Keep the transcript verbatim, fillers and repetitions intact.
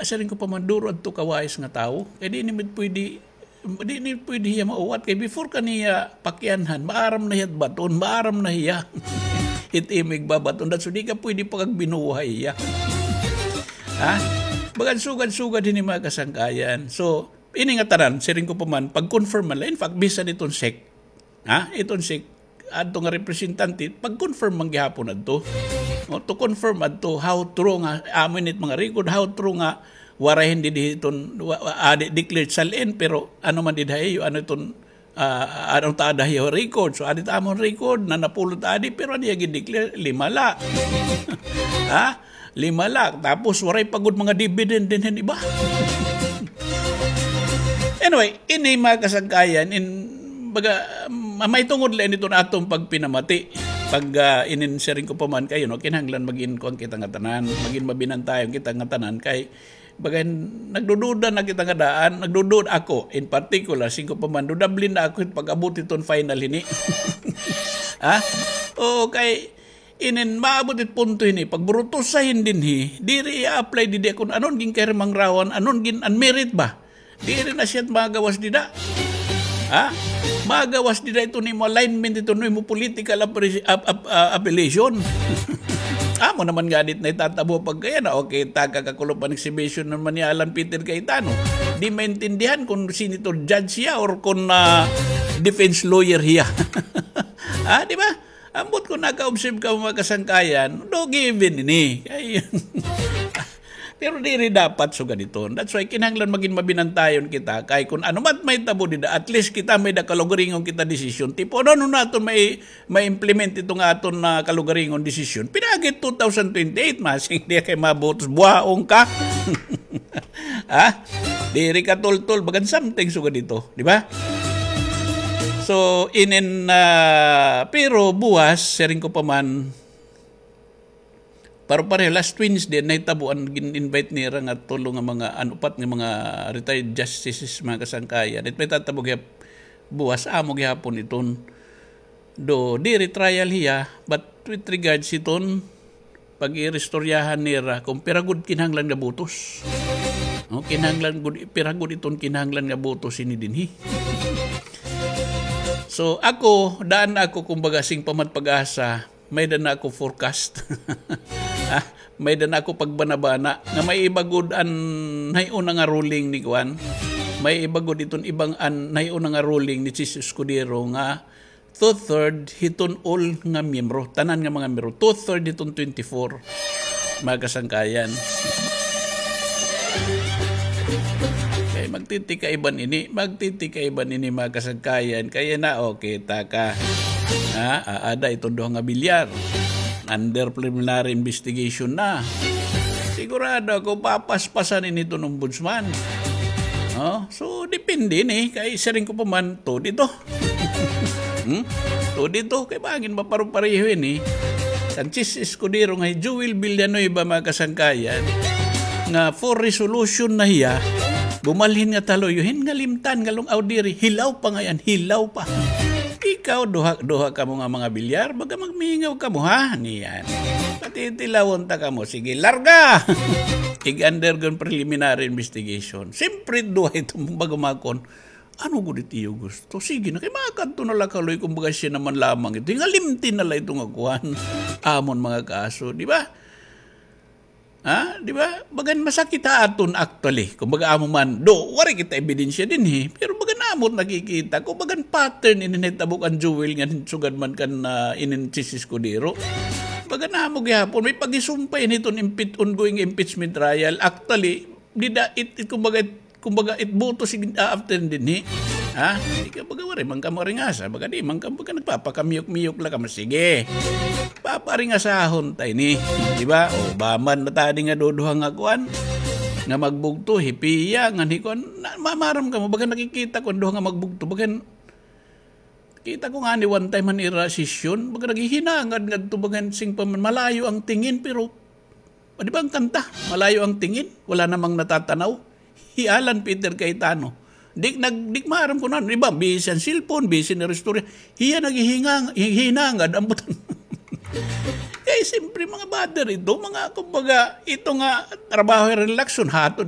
Siring ko pa man, duro adto kawais nga tawo. Kay di ni pwede, di ni pwede hiya mauwat. Kay before ka niya pakianhan, maaram na hiya baton, maaram na hiya. It imo igbabaton. That's why di ka pwede pagbinuhay hiya. Ha? Bagan sugad-sugad hini, mga kasangkayan. So, ini nga tanan, siring ko pa man, pag-confirm man la. In fact, bisan iton sec, ha? Iton sec, adto nga representante, pag-confirm man gihapon adto. O, to confirm adto, how true nga, amo ini it mga record, how true nga, waray hindi di iton, wa-, wa-, adi declared sal-in, pero ano man dida hiyo, ano iton, ah, ano ta ada hiyo record. So, adi ta amon record, na napulot adi, pero adi gi-declare, lima la. Ha? Lima la. Tapos, waray pa gud mga dividend dinhi hin iba. Anyway, ini, mga kasangkayan, in, baga, ma-, may tungod la ini iton aton pagpinamati. Pag, ah, inin siring ko pa man kayo, no, kinahanglan magin kuan kita nga tanan, magin mabinantayon kita nga tanan, kay baga nagdududa na kita nga daan, nagdududa ako, in particular, siring ko pa man, dudable na ako hin pag-abot iton final hini. Ha? Oo, kay inin maabot it punto hini, pagburutusa hin dinhi, diri i-apply didi kon anon gin kay Mangrawan, anon gin-unmerit ba? Diri na siya magawas dida. Ha? Magawas dida iton imo alignment, iton imo political appre-, ap-, ap-, ah, affiliation. Amo naman nga dit na itatabo pagkaya na, okay, taga kakulo pa exhibition naman ni Alan Peter Cayetano. Di maintindihan kung senator judge siya or kung, ah, defense lawyer hiya. Ha, di ba? Ambot kung naka-observe ka, mga kasangkayan, do given ini. Ay, pero diri dapat sugad iton. That's why kinahanglan magin mabinantayon kita. Kay kung ano man mahitabo dida, at least kita may da kalugaringon kita desisyon. Tipo, ano, ano naton may, may implement ito nga aton na kalugaringon desisyon? Pinagit two thousand twenty-eight, masing di kay mabutos, buhaon ka. Ha? Diri ka tultol, bagan something sugad ito, di ba? So, inin, ah, pero buwas, siring ko pa man, pareho-pareho, last Wednesday, nahitabo an gin-invite nira nga tulo nga mga, an upat nga mga retired justices, mga kasangkayan. It may tatabo gihap buwas, amo gihapon iton. Do, diri trial hiya, but with regards iton, pag-iristoryahan nira kung pira gud kinahanglan nga butos. No, kinahanglan gud, pira gud iton kinahanglan nga butos ini dinhi. So, ako, daan ako, kumbaga, sing pamad pag-asa, may da na ako forecast. Ah, may da na ako pagbanabana nga may iba gud an nahiuna nga ruling ni kuan. May iba gud iton ibang an nahiuna nga ruling ni Chiz Escudero nga two-third hiton all nga miyembro, tanan nga mga miyembro, two-third hiton twenty-four, mga kasangkayan. Kay magtitikaiban ini, magtitikaiban ini, mga kasangkayan. Kaya na, o, kita ka. Ha? Aada iton duha nga bilyar. Under preliminary investigation na. Sigurado ako, papaspasan ini iton ombudsman. No? So, depende ini. Kay siring ko pa man, to dito. Hmm? To dito, kay bangin maparo-pareho ini. Kan Chiz Escudero nga hi Joel Villanueva, mga kasangkayan, nga for resolution na hiya, bumalhin nga taluyo hin nga limtan, nga lung-aw diri, hilaw pa ngay-an, hilaw pa. Ikaw, duha, duha kamo nga mga bilyar, baga magmingaw kamo, ha? Niyan. Patitilawon ta kamo, sige, larga! Ig-undergo preliminary investigation. Siyempre, duha ito, baga makon. Ano gud it iyo gusto? Sige na, kay makadto na la kaloy, kumbaga siya naman lamang ito. Hingalimti na la ito nga kuan. Amon mga kaso, di ba? Ha? Di ba? Bagan masakit ha aton actually. Kumbaga amo man, do, waray kita ebidensya dinhi. Pero bagan amo it nakikita ko, bagan pattern ini nahitabo kan Joel nga sugad man kan, ah, inin Chiz Escudero. Bagan amo gihapon, may pagisumpay ini iton impeach-, ongoing impeachment trial. Actually, dida, it, it, kumbaga, it, kumbaga, it boto sig-, ah, after dinhi. Ha? Ikaw, baga, waray man kamo ringasa. Baga, di man kamo, baga, nagpapakamiyok-miyok la kamo. Sige. Paparingasahon ta ini. Di ba? O, baman na tadi nga duduha nga kuan. Nga magbugto, hipiya, nga hikuan. Na, mamaram kamo, baga, nakikita ko an duha nga magbugto. Baga, kita ko ngani one time han ira sesyon. Baga, naghihinangad ngadto, baga, sing pa man, malayo ang tingin, pero O, di ba an kanta? Malayo ang tingin, wala namang natatanaw. Hi Alan Peter Cayetano. Di, nag-, di maaram kun ano. Iba, busy an cellphone, busy an istorya. Hiya naghihingang-, hi-, hinangad, ambot an. Kay, siyempre, mga bother ito, mga, kumbaga, ito nga, trabaho, relaxon, hatod,